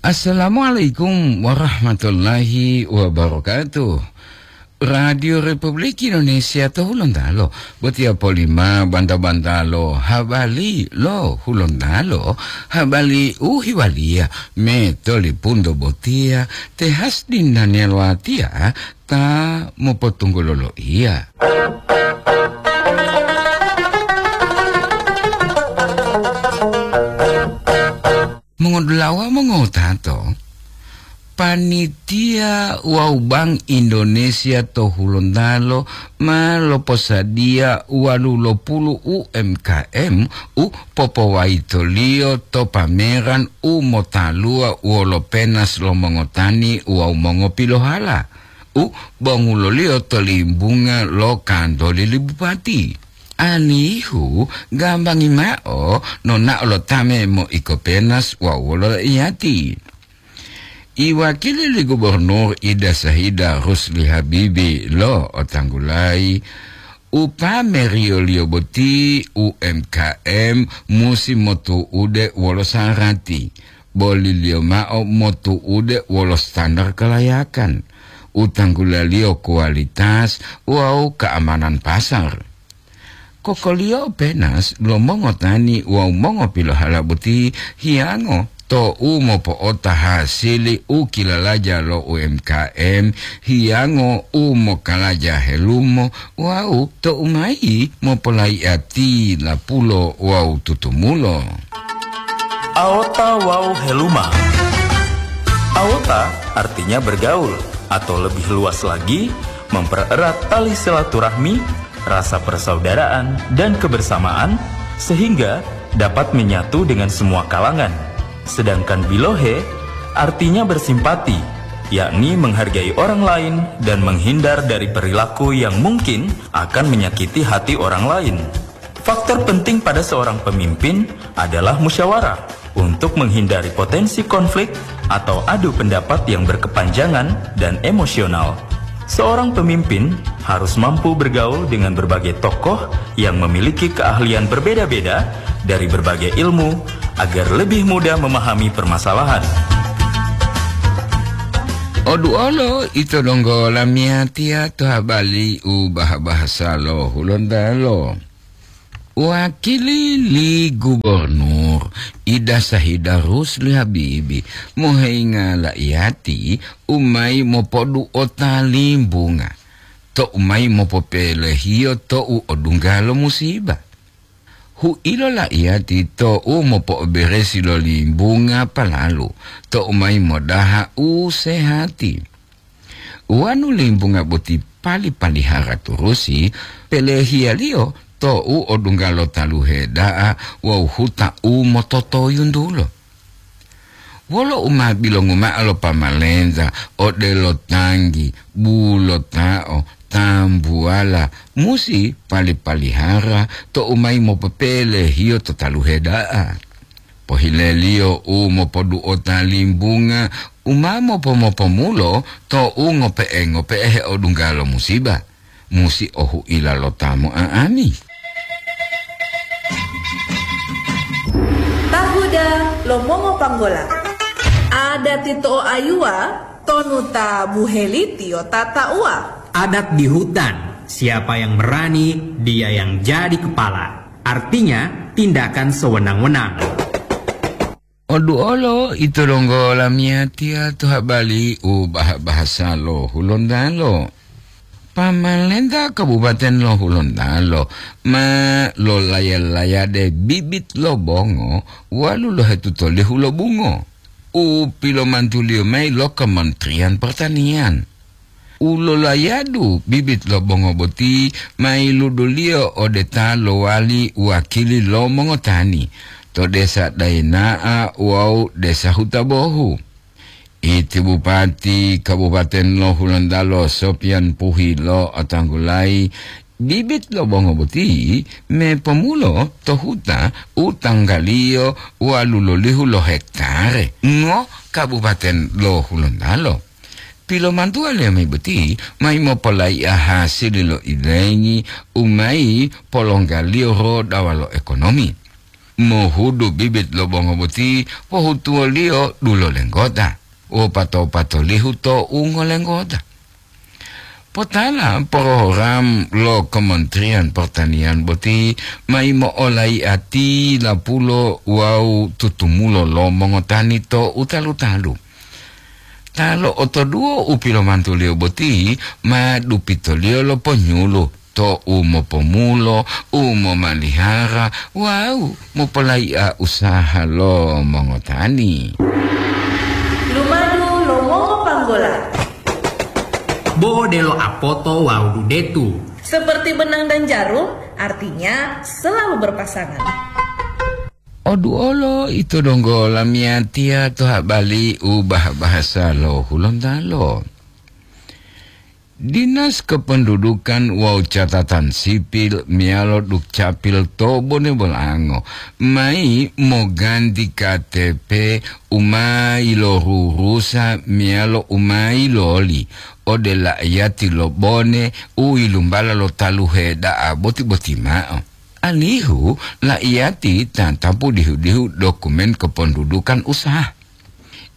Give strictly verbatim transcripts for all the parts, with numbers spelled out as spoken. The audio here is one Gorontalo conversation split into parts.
Assalamualaikum warahmatullahi wabarakatuh. Radio Republik Indonesia to Hulontalo, botiya polima banta-bantalo habari lo Hulontalo, habari u hiwaliya me tolipunto botiya te Hasdin Daniel Watiya ta mopotunggulo loiya. Mongodulawa mongotato, panitia wawu Bank Indonesia to Hulontalo ma loposadiya walu lo pulu U M K M u popowayitoliyo to pameran u motaluwa wolo penas lo mongotani wawu mongopilohala u bonguloliyo to limbunga lo kantoli li bupati. Alihu gambangi mao nonao lo ta memoiko penas wawu wolo iyati. Iwakili li Gubernur Ida Sahida Rusli Habibi lo otanggulayi, upameriyoliyo boti U M K M musi motu'ude wolo sarati, boliliyo mao motu'ude wolo standar kalayakan, utanggulaliyo kualitas wawu keamanan pasar. Kokoliyo penas lo mongotani wawu mongopilohala boti hiyango to u mopo'ota hasili u kilalaja lo U M K M, hiyango u mokalaja helumo wawu to u mayi mopolayi'ati lapulo wawu tutumulo. Aota wawu heluma. Aota artinya bergaul, atau lebih luas lagi, mempererat tali silaturahmi, rasa persaudaraan, dan kebersamaan, sehingga dapat menyatu dengan semua kalangan. Sedangkan bilohe artinya bersimpati, yakni menghargai orang lain dan menghindar dari perilaku yang mungkin akan menyakiti hati orang lain. Faktor penting pada seorang pemimpin adalah musyawarah untuk menghindari potensi konflik atau adu pendapat yang berkepanjangan dan emosional. Seorang pemimpin harus mampu bergaul dengan berbagai tokoh yang memiliki keahlian berbeda-beda dari berbagai ilmu agar lebih mudah memahami permasalahan. Oduolo ito donggo lamiyatiya to habari u bahasa lo Hulontalo. Wakili li Gubernur Ida Sahida Rusli Habibi moheyinga la'iyati u mayi mopodu'ota limbunga, to u mayi mopopelehiyo to u odungga lo musiba. Hu'ilo la'iyati to u mopo'oberesi lo limbunga palalu, to u mayi modaha u sehati. Wonu limbunga boti pali-palihara turusi, pelehiyaliyo to u odungga lo taluhe da'a wawu huta u mototoyuntulo. Wolo u ma bilongu mao lo pamalenta odelo tanggi, bulota'o, tambuwala, musi pali-palihara to u mayi mopopelehiyo to taluhe da'a. Pohileliyo u mopodu'ota limbunga u ma mopo-mopomulo to u ngope'e-ngope'e heodungga lo musiba, musi ohu'ila lo ta mo'a'ami. Tahuda lo mongopanggola. Adati to'o ayuwa, tonu ta buhelitiyo ta ta'uwa. Adat di hutan, siapa yang berani, dia yang jadi kepala. Artinya, tindakan sewenang-wenang. Oduolo ito donggo lamiyatiya to habari u bah-, bahasa lo Hulontalo. Pamalenta Kabupaten lo Hulontalo ma lolaya-layade bibit lo bongo walu lohetuto lihu lo bungo u pilomantuliyo mayi lo Kementerian Pertanian. U lolayadu bibit lo bongo boti ma yiluduliyo ode ta lowali wakili lo mongotani to Desa Daina'a wawu Desa Hutabohu. Iti Bupati Kabupaten lo Hulontalo Sopian Puhi lo'otanggulayi bibit lo bongo boti me pomulo to huta u tanggaliyo walu lolihu lo hektare ngo Kabupaten lo Hulontalo. Pilomantuwaliyo mayi boti mayi mopolaiya hasili lo ilengi u mayi polonggaliyo rodawa lo ekonomi. Mohudu bibit lo bongo boti pohutuwoliyo dulo lenggota, wopato-patolihu to ungo lenggota. Potala program lo Kementerian Pertanian boti ma yimo'olaiati lapulo wawu tutumulo lo mongotani to utalu-talu. Ta lo'otoduwo u pilomantuliyo boti ma dupitoliyo lo ponyulu to u mopomulo, u momalihara wawu mopolai'a usaha lo mongotani. Lumadu lo mongopanggola. Bo odelo apoto wawu dudetu. Seperti benang dan jarum, artinya selalu berpasangan. Oduolo ito donggo lamiyatiya to habali u bah-bahasa lo Hulontalo. Dinas Kependudukan wawu Catatan Sipil meyalo Dukcapil to Bone Bolango mayi moganti K T P u ma yilorurusa meyalo u ma yiloli ode la'iyati lo Bone u yilumbala lo taluhe da'a boti-boti ma'o, alihu la'iyati tatapu dihu-dihu dokumen kependudukan usaha.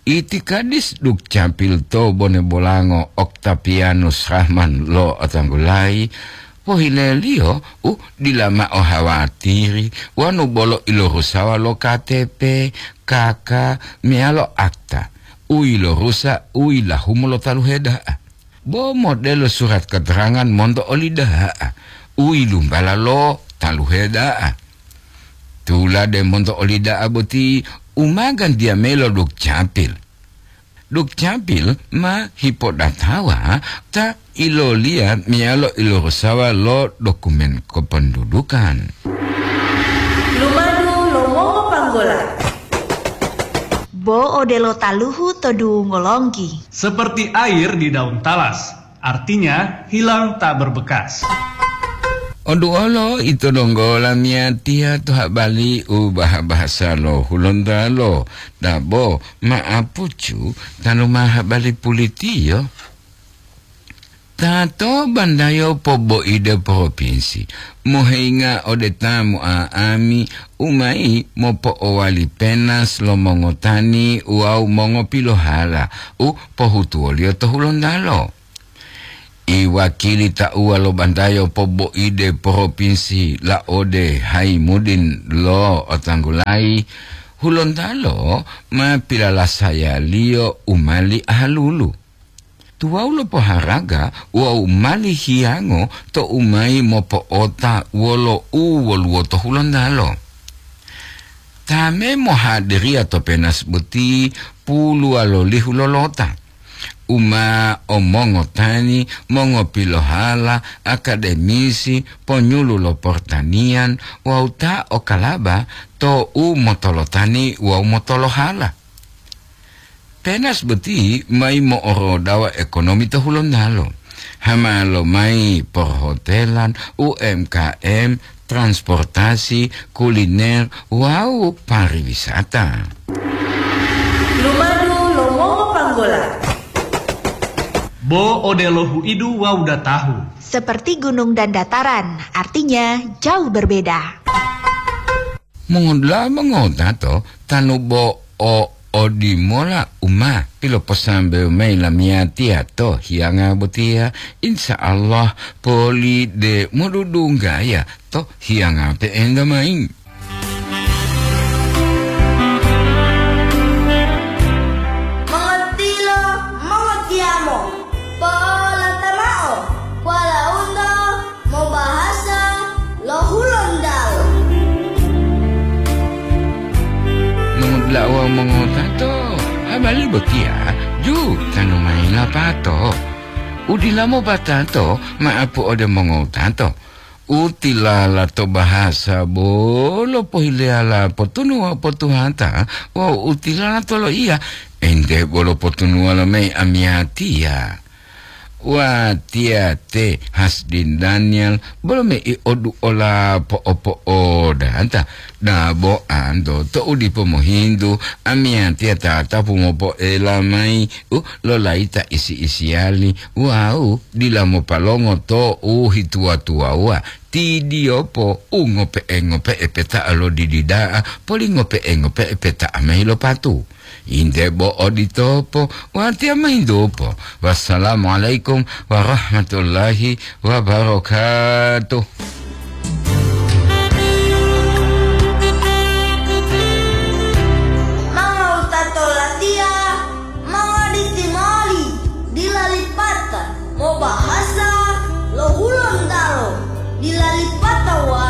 Itikadis Dukcapil to Bone Bolango Oktapianus Rahman lo'otanggulayi, pohileliyo u dila mao hawatiri wonu bolo ilorusawa lo K T P, K K, meyalo akta u yilorusa u yilahumu lo taluhe da'a. Bo modelo surat keterangan monto oli da'a u yilumbala lo taluhe da'a. Tulade monto oli da'a boti u ma gantiya mayi lo Dukcapil. Dukcapil ma hipodatawa ta iloliya meyalo ilorusawa lo dokumen kependudukan. Lumadu lo mongopanggola. Bo odelo taluhu to duwungo longgi. Seperti air di daun talas, artinya hilang tak berbekas. Oduolo ito donggo lamiyatiya to habali u bah-bahasa lo Hulontalo, dabo ma'apucu tanu ma habali pulitiyo. Ta to bandayo poboide propinsi, moheinga ode ta mo'a'ami u mayi mopo'owali penas lo mongotani wawu mongopilohala u pohutuwoliyo to Hulontalo. Iwakili tauwa lo bandayo poboide propinsi laode Haimudin lo'otanggulayi, Hulontalo ma pilalasayaliyo u mali ahalulu. Tuwawu lo poharaga wawu mali hiyango tou mayi mopo'ota wolo u woluwo to Hulontalo. Ta me mohadiriya to penas boti puluwalolihu lolota, u ma o mongotani, mongopilohala, akademisi, ponyulu lo portaniyan wawu ta o kalaba to u motolotani wawu motolohala. Penas boti mayi mo'orodawa ekonomi to Hulontalo. Hama lomayi perhotelan, U M K M, transportasi, kuliner, wawu pariwisata. Lumadu lo mongopanggola. Bo odelo huidu wawu datahu. Seperti gunung dan dataran, artinya jauh berbeda. Mongodula'a mongotato tanu bo o odimola u ma piloposambewo mayi lamiyatiya to hiyanga botiya, insya Allah poli de modudunggaya to hiyanga pe'enta mayi. Mongotilo, mongotiyamo, po'olata mao, walaundo mobahasa lo Hulontalo. Mongotilo wawu mongotato, habari botiya ju tanu mayi lapato. Udila mopatato ma'apu ode mongotato. Utilala to bahasa bolo pohileyala potunuwa potuhata wawu utilala to loiya, ente bolo potunuwa lo mayi amiyatiya. Watiya te Hasdin Daniel, bolo me i odu ola po'o-po'o danta. Dabo anto to'u dipo mohintu, amiyatiya tatapu mopo'ela mayi, u, lolaita isi-isiyali, wawu dila mopalongo to'u hituwa-tuwawuwa. Tidiyopo u ngope'e-ngope'e peta'a lo didi da'a, poli ngope'e-ngope'e peta'a mayi lo patu. Inde bo oditopo, watiya mahintupo. Wassalamualaikum warahmatullahi wabarakatuh. Mau tato latiya, mau aditi moli, dila lipata, mau bahasa, lo Hulontalo, dila lipata wa,